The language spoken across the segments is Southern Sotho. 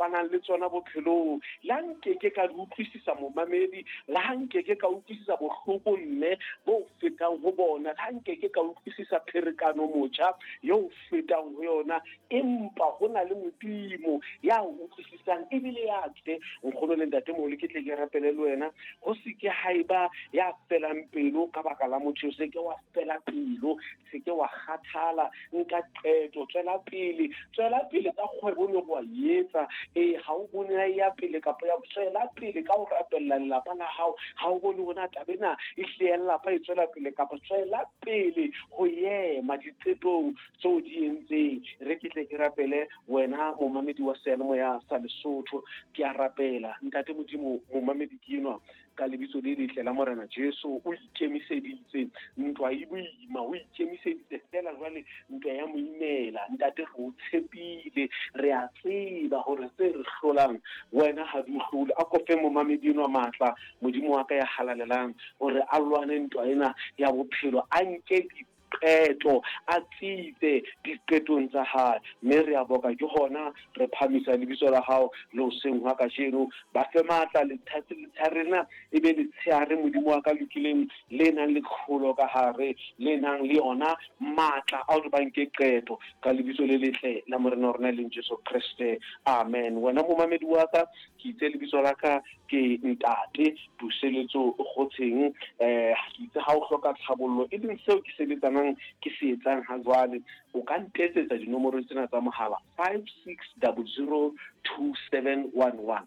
kopanang le tsona bophelong. Le ha nkeke ka di utlwisisa momamedi, le ha nkeke ka utlwisisa bohloko mme bo fetang ho bona, le ha nkeke ka utlwisisa pherekano motjha yo fetang ho yona, empa ho na le Modimo ya utlwisisang ebile ya tle. Nkgono le ntatemoholo, ke tle ke rapele le wena, ho se ke ha eba ya felang pelo ka baka la motho. O se ke wa fela pelo, se ke wa kgathala, nka qeto, tswela pele, tswela pele ka kgwebo ne wa etsa. Ee, ha o bone ya ya pele kapa ya tswela pele ka ho rapella lelapa la hao. Ha o bone hore na taba ena e hlile ya lelapa e tswela pele kapa tswela pele ho ema diqetong tseo di entseng. Re ke tle ke rapele wena momamedi wa seyalemoya sa Lesotho. Ke a rapela, Ntate Modimo, momamedi ke enwa ka lebitso le letle la Morena Jesu, o ikemiseditse, ntwa e boima, o ikemiseditse fela jwale ntwa ya moimela. Ntate, re o tshepile, re a tseba hore tse re hlolang wena ha di o hlole. A kofe momamedi enwa matla, Modimo wa ka ya halalelang, hore a lwane ntwa ena ya bophelo, a nke diqeto, a tsitse diqetong tsa hae. Mme re a boka ke hona re phamisa lebitso la hao le hoseng hwa kajeno. Ba fe matla letshare lena e be letshehare, Modimo wa ka lokileng, le nang le tlholo ka hare, le nang le yona matla a hore ba nke qeto ka lebitso le letle la Morena wa rona e leng Jesu Kreste. Amen. Wena momamedi wa ka, ke itse lebitso la ka ke Ntate Puseletso Kgotsheng. Ke itse ha o hloka tlhabollo, e leng seo ke sebetsanang ke se etsang ha jwale, o ka ntetsetsa dinomoro tsena tsa mohala 56002711,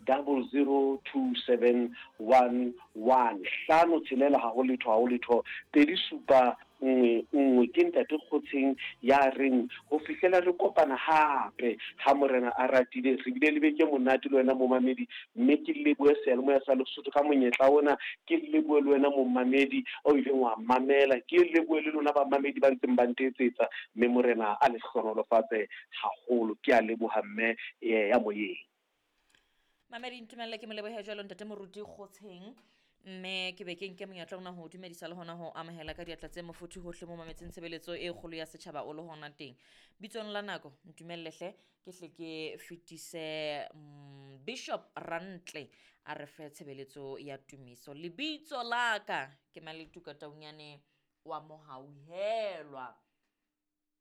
56002711, hlano tshelela ha ho letho, ha ho letho, 2 7 1 1. Ke Ntate Kgotsheng ya reng ho fihlela re kopana hape ha Morena a ratile. Re bile le beke monate le wena momamedi, mme ke lebohe seyalemoya sa Lesotho ka monyetla ona. Ke lebohe le wena momamedi o ileng wa mamela, ke lebohe le lona bamamedi ba ntseng ba ntetsetsa, mme Morena a le hlohonolofatse haholo. Ke a leboha mme ya moyeng. Mamedi, ntumelle ke molebohe jwalo Ntate Moruti Kgotsheng, mme ke be ke nke monyetla ona ho dumedisa le hona ho amohela ka diatla tse mofuthu hohle mo mametseng tshebeletso e kgolo ya setjhaba o le hona teng. Bitsong la nako, ntumelle hle ke hle ke fetise Bishop Rantle a re fe tshebeletso ya tumiso. Lebitso la ka ke Maletuka Taunyane wa Mohauhelwa.